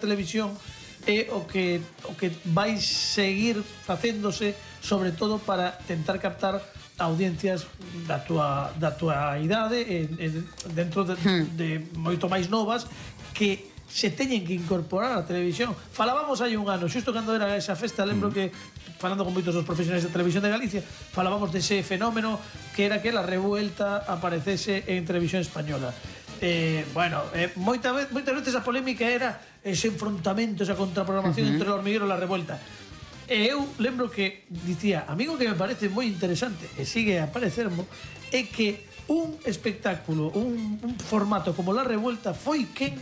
televisión é o que vai seguir facéndose, sobre todo para tentar captar audiencias da tua idade, dentro de moito máis novas, que se teñen que incorporar á televisión. Falábamos hai un ano, xusto cando era esa festa, lembro que, falando con moitos dos profesionais de televisión de Galicia, falábamos dese fenómeno que era que la Revuelta aparecese en televisión española. Bueno, moitas veces a polémica era ese enfrontamento, esa contraprogramación entre o Hormiguero e la Revuelta. E eu lembro que dicía, amigo, que me parece moi interesante, e sigue a parecermo, é que un espectáculo, un formato como la Revuelta foi quen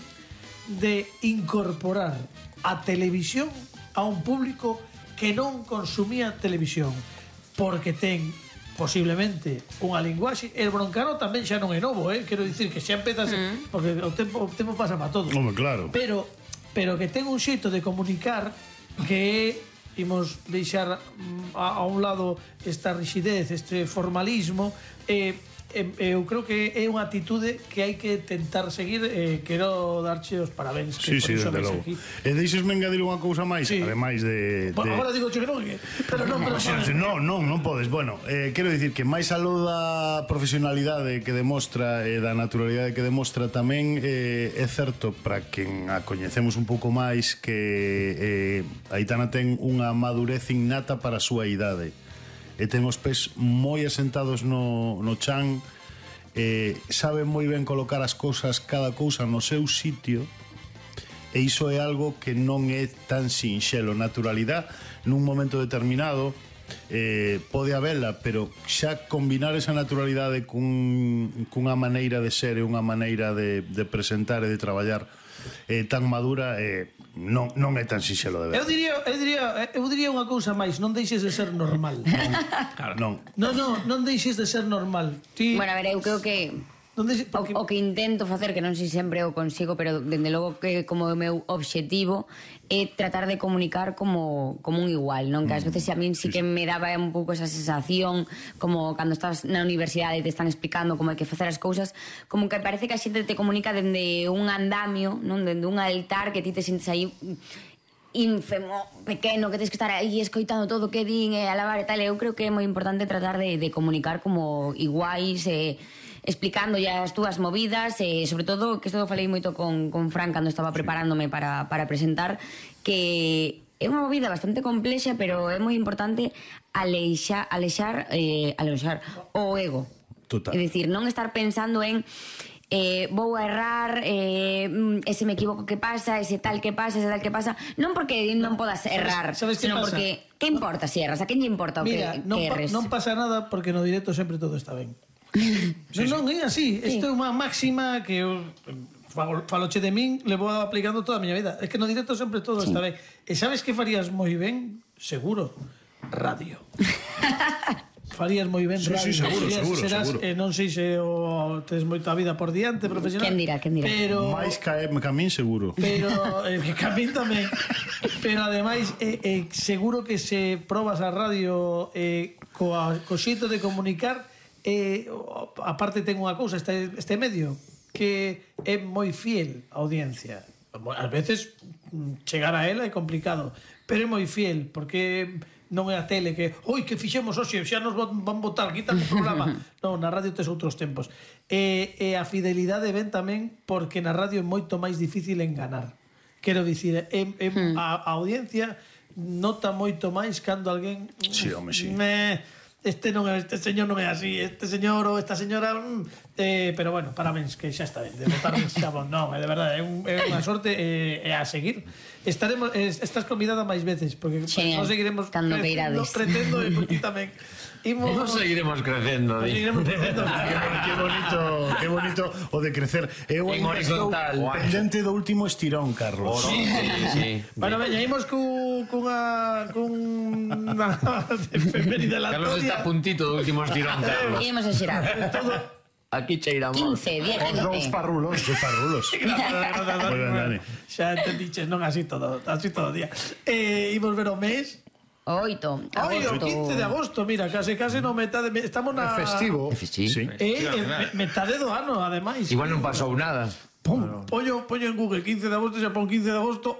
de incorporar a televisión a un público que non consumía televisión, porque ten posiblemente unha linguaxe. El broncano tamén xa non é novo, quero dicir que xa empezase, porque o tempo pasa para todos. Claro. Pero que ten un xeito de comunicar que imos deixar a un lado esta rigidez, este formalismo. Eu creo que é unha atitude que hai que tentar seguir. Quero darche os parabéns. Sí, desde logo. E deixesme engadir unha cousa máis, ademais de... Agora digo que non, pero non. Non podes. Bueno, quero dicir que máis aló da profesionalidade que demostra e da naturalidade que demostra, tamén é certo, para quen a coñecemos un pouco máis, que Aitana ten unha madurez innata para a súa idade. E ten os pés moi asentados no chan, sabe moi ben colocar as cousas, cada cousa no seu sitio, e iso é algo que non é tan sinxelo. Naturalidade nun momento determinado pode habela, pero xa combinar esa naturalidade cunha maneira de ser e unha maneira de presentar e de traballar tan madura, non é tan sinxelo de ver. Eu diría unha cousa máis, non deixes de ser normal. Non deixes de ser normal. Bueno, a ver, eu creo que o que intento facer, que non sei sempre o consigo, pero dende logo que como o meu obxectivo é tratar de comunicar como un igual, non? Que ás veces a min sí que me daba un pouco esa sensación, como cando estás na universidade e te están explicando como hai que facer as cousas, como que parece que a xente te comunica dende un andamio, non? Dende un altar, que ti te sintes aí ínfemo, pequeno, que tens que estar aí escoitando todo o que din e alabar e tal. Eu creo que é moi importante tratar de comunicar como iguais, explicando ya as túas movidas, e sobre todo, que isto falei moito con Fran cando estaba preparándome para presentar, que é unha movida bastante complexa, pero é moi importante aleixar o ego. Total. É dicir, non estar pensando en vou a errar, ese me equivoco que pasa, ese tal que pasa, non porque non podas errar, sino porque que importa se erras, a quen lle importa o que erres. Non pasa nada, porque no directo sempre todo está ben. Non é así. Isto é unha máxima que eu faloche de min, levo aplicando toda a miña vida. É que no directo sempre todo está ben. E sabes que farías moi ben? Seguro, radio. Farías moi ben radio. Sí, seguro. Non sei se tes moita vida por diante profesional. Quen dirá. Pero máis camín seguro. Pero camín tamén. Pero ademais seguro que se probas a radio co xeito de comunicar, aparte ten unha cousa este medio, que é moi fiel á audiencia. Ás veces chegar a ela é complicado, pero é moi fiel, porque non é a tele que fixemos hoxe, xa nos van botar, quitan o programa. Non, na radio tes outros tempos. E a fidelidade ven tamén porque na radio é moito máis difícil enganar. Quero dicir, a audiencia nota moito máis cando alguén... Sí, home, sí. Este señor non é así, este señor ou esta señora, pero bueno, parabéns, que xa está ben, de votar xa bon, non, de verdade, é unha sorte, e a seguir. Estás convidada máis veces, porque non seguiremos crecendo, e por ti tamén. Nos seguiremos crecendo. Que bonito o de crecer. Eu en horizontal. Pendente do último estirón, Carlos. Sí. Bueno, veña, imos cunha efeméride aleatoria. Carlos está a puntito do último estirón, Carlos. Imos a xerar. Aquí cheiramos 15, 10, 15. Os parrulos. Xa entendiches, non así todo o día. Imos ver o mes. 8 agosto. 15 de agosto, mira, case no metade, estamos na festivo. Sí. Metade do ano, ademais. Igual non pasou nada. Pum, pollo en Google 15 de agosto, xa pon 15 de agosto,